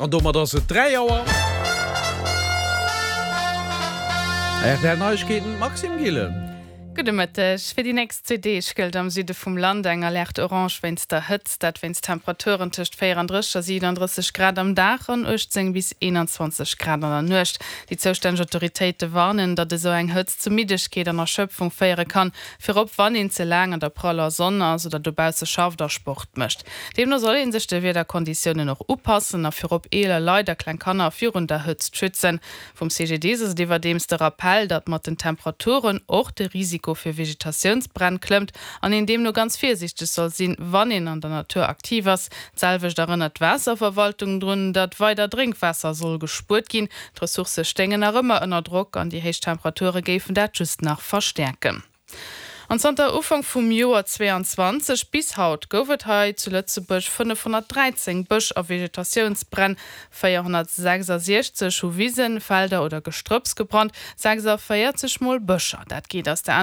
An domat ass et 3 Auer. Rtl Neiegkeeten, Maxime Gillen. Gudde Mëtteg. Fir déi nächst zwee Deeg gëllt am Süde vum Land eng Alerte orange wéinst der Hëtzt. Dat wéinst Temperaturen tëscht 34 a 37 Grad am Dag an 18 bis 21 Grad an der Nuecht. Déi zoustänneg Autoritéite warnen, datt esou eng Hëtzt zu Middegkeet an Erschöpfung féiere kann, virop wann een ze laang an der praller Sonn ass oder dobausse schafft a Sport mécht. Deemno soll ee sech de Wiederkonditiounen och upassen a virop eeler Leit a kleng Kanner virun der Hëtzt schützen. Vum CGDIS ass et iwwerdeems de Rappell, datt mat den Temperaturen och de Risiko fir Vegetatiounsbränn klëmmt an een deemno ganz virsiichteg soll sinn, wann een an der Natur aktiv ass. D'selwecht erënnert d'Waasserverwaltung drun, datt weider Drénkwaasser soll gespuert ginn. D'Ressourcë stéingen nach ëmmer ënner Drock an déi héich Temperature géifen dat just nach verstäerken. An zanter Ufank vum Joer 22 bis haut gouf et hei zu Lëtzebuerg 513 Bësch a Vegetatiounsbränn, 466 hu Wisen, Felder oder Gestrëpps gebrannt, 46 mol Bëscher. Dat geet aus der.